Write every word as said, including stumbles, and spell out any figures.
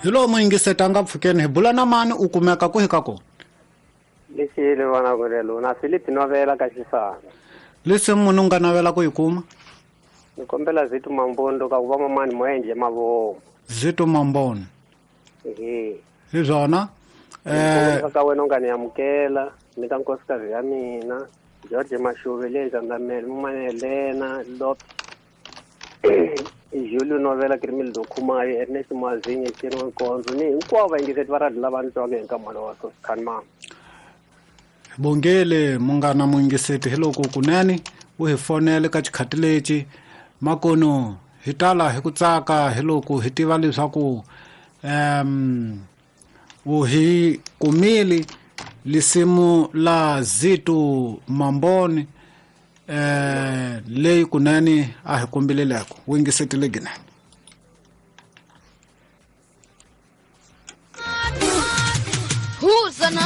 Hi lowu muyingiseti a nga pfukeni hi bula na mani u kumeka ku hi ka kona. Lexile vana ku lelo na Philip Novela ka Xisana. Lesi munhu u nga navela ku yi kuma? Ni kombela Zito Mambondo ka ku va mamani mo endle mavomo. Zito Mambondo. Ehe. Hi swona. Eh ka wena u nga ni amukela ni ka nkosikazi ya mina George Mashuve le Ndzandamele Mumane Helena Lop Julio Novela Krimildo Khumayo Ernest Mazinye Chino Nkonzo ni hinkwavo vayingiseti va radio lava ni twaka hi nkamana wa Soscan mama. Bongele munghana muyingiseti hi loko kunene u hi fonele ka xikhati lexi makono hi tala hi ku tsaka hi loko hi tiva leswaku um u hi kumile lisimu la Zito Mamboni eh leyi kunene a hi kombileleko wu yingisetile ginene. Who's an